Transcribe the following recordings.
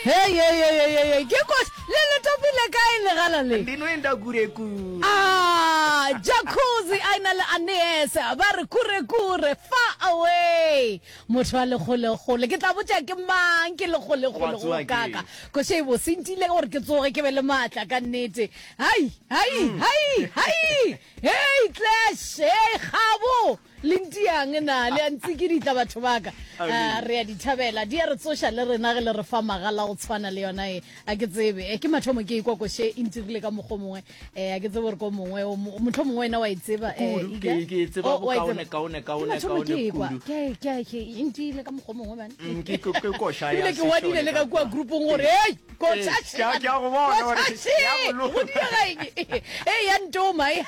Hei, hei, hei, hei, hei, hei, ke koša le le topile kae legala le? Ndinoenda kure kure. Ah, jacuzzi a ena le Anees ba re kure kure far away. Motho a le kgole kgole ke tla botša ke mang ke le kgole Wa kgole go tsoga kaka. ke. Koša e bose ntile gore ke tsoge ke be le maatla ka nnete. Hai, hai, hai, hai. Hei Clash, hei Kgabo. Le ntiang na? Le a ntsikiditla batho ba ka. Ah, re a di thabela. Di a re tsoša le rena ge le re fa magala go tshwana le yona e. A ke tsebe. Eh, ke mathomo ke ekwa koše e ntirile ka mokgwa o mongwe. Eh, a ke tsebe gore ko mongwe, o mo- mohlomongwe mongwe wena wa e tseba. Eh, Kudu, Iga? ke- ke e tseba Oh, wa e bokaone, tseba. kaone, Ke kaone, mathomo kaone ke ekwa. kudu. Ke, ke, ke, e ntiile ka mokgwa o mongwe, man. Mm, ke- ke- ke koša ya Ebile ke ngwadile sešole le ka ka kua kwa. groupong gore, Hei, koša Ee, ke a- ke a go bona gore koša ke a go še, loma. go diega eng? Ee, ya ntoma, e.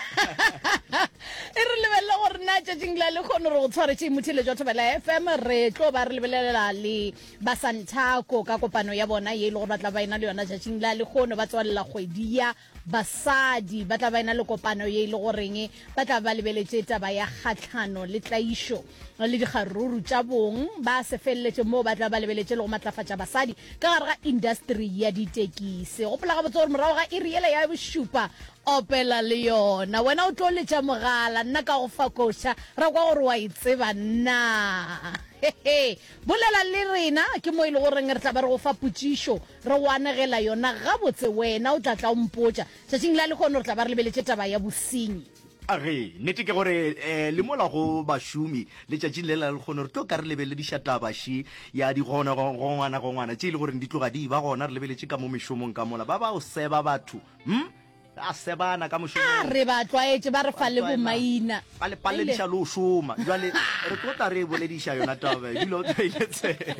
E re lebelela gore na tšatšing la lekgono re go tshwaretše motheeletši wa Thobela FM. Re tlo ba re lebelelela le ba Santaco ka kopano ya bona ye e le gore ba tla ba ena le yona tšatšing la lekgono, ba tswalela kgwedi ya basadi. Ba tla ba ena le kopano ye e le goreng ba tla ba lebeletše taba ya kgahlano le tlaišo le dikgaruru tša bong. Ba se feleletše moo, ba tla ba lebeletše le go matlafatša basadi ka gare ga industry ya ditekisi. Gopola gabotse gore morago ga iri yela ya bošupa Opela le yona. Wena o tlo letša mogala, nna ka go fa koša, ra kwa gore wa e tseba na. Hehe. Bolela le rena, ke mo e le goreng re tla ba re go fa potšišo, re go anegela yona gabotse, wena o tla tla o mpotša. Tšatšing la lehono re tla ba re lebeletše taba ya bosenyi. Age, nnete ke gore eh, le mola go bašomi letšatšing le la lekgono re tlo ka re lebelediša taba še ya digongwana-gongwana tše e le goreng di tloga di ba gona, re lebeletše ka mo mešomong ka mola ba ba o seba batho hm a sebana ka mošomong. A re ba tlwaetše, ba re fa le bomaina. Ba le palediša le go šoma. Jwale re tlo tla re e bolediša yona taba e, dula o tlwaile tsebe.